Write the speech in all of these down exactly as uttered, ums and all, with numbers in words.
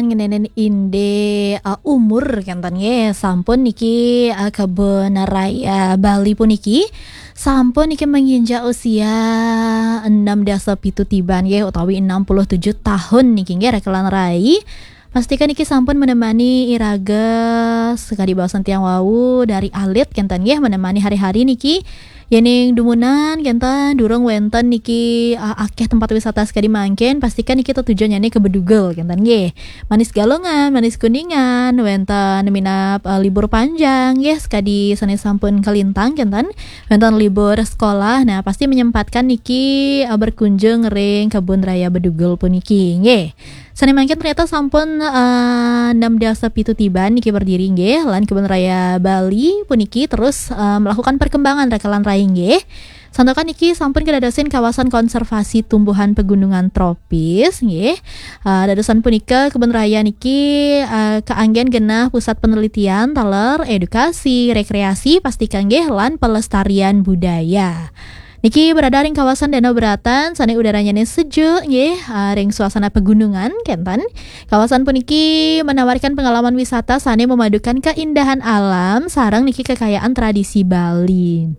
ngeninin inde uh, umur kenten nggih, sampun niki uh, Kebun Raya Bali puniki sampun niki menginjak usia enam dasa pitu tiban nggih, utawi enam puluh tujuh tahun niki nggih, Rekelan Rai. Pastikan niki sampun menemani iraga sekadi baosan tiang wau dari alit kenten nggih, menemani hari-hari niki. Yening dumunan kenten durung wenten niki uh, akeh tempat wisata sekadi mangkin, pastikan niki tetujuannya ke Bedugul kenten nggih. Manis Galungan, Manis Kuningan, wenten minap uh, libur panjang nggih, sekadi sane sampun kelintang kenten, wenten libur sekolah. Nah, pasti menyempatkan niki uh, berkunjung ring Kebun Raya Bedugul puniki nggih. Sane mangkin ternyata sampun uh, enam dasa pitu tiban niki berdiri nggih, lan Kebun Raya Bali puniki terus uh, melakukan perkembangan Rekelan Rai nggih. Santukan niki sampun kedadosin kawasan konservasi tumbuhan pegunungan tropis nggih. Uh, dadosan punika Kebun Raya niki uh, keanggen genah pusat penelitian taler edukasi, rekreasi, pastika nggih, lan pelestarian budaya. Niki berada ring kawasan Danau Beratan, sane udaranya ne sejuk nggih, uh, ring suasana pegunungan kenten. Kawasan puniki menawarkan pengalaman wisata sane memadukan keindahan alam sareng niki kekayaan tradisi Bali.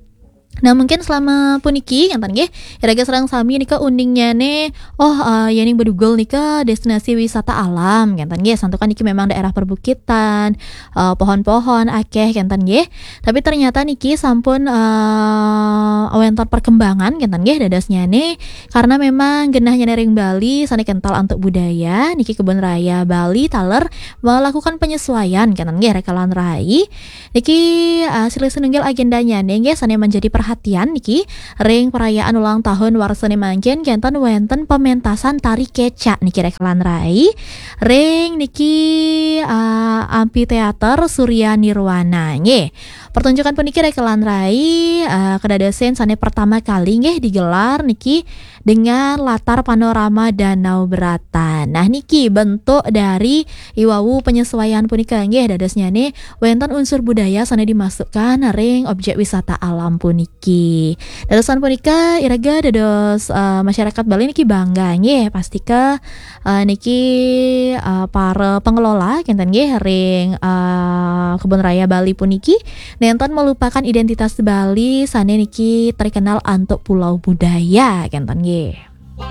Nah, mungkin selama puniki kenten nggih, iraga sareng sami nika uningnya ne, oh uh, yening Bedugul nika destinasi wisata alam kenten nggih, santukan niki memang daerah perbukitan, uh, pohon-pohon akeh kenten nggih. Tapi ternyata niki sampun uh, wenten perkembangan kenten nggih dadosnya ne, karena memang genahnya ne ring Bali sane kental antuk budaya, niki Kebun Raya Bali taler melakukan penyesuaian kenten nggih, Rekelan Rai. Niki uh, silih sinunggil agendanya ne nggih sane menjadi perhatian niki ring perayaan ulang tahun warsane mangkin kenten wenten pementasan tari kecak niki, Rekelan Rai, ring niki uh, Amphitheater Surya Nirwana nggih. Pertunjukan puniki, Rekelan Rai, uh, kedadosen sane pertama kali nggih digelar niki dengan latar panorama Danau Beratan. Nah, niki bentuk dari iwau penyesuaian punika nggih, dadosnya ne wenten unsur budaya sane dimasukkan ring objek wisata alam puniki. Dadosan punika iraga dados uh, masyarakat Bali niki bangga nggih, pastika uh, niki uh, para pengelola kenten nggih ring uh, Kebun Raya Bali puniki nenten melupakan identitas Bali sane niki terkenal antuk pulau budaya kenten nggih.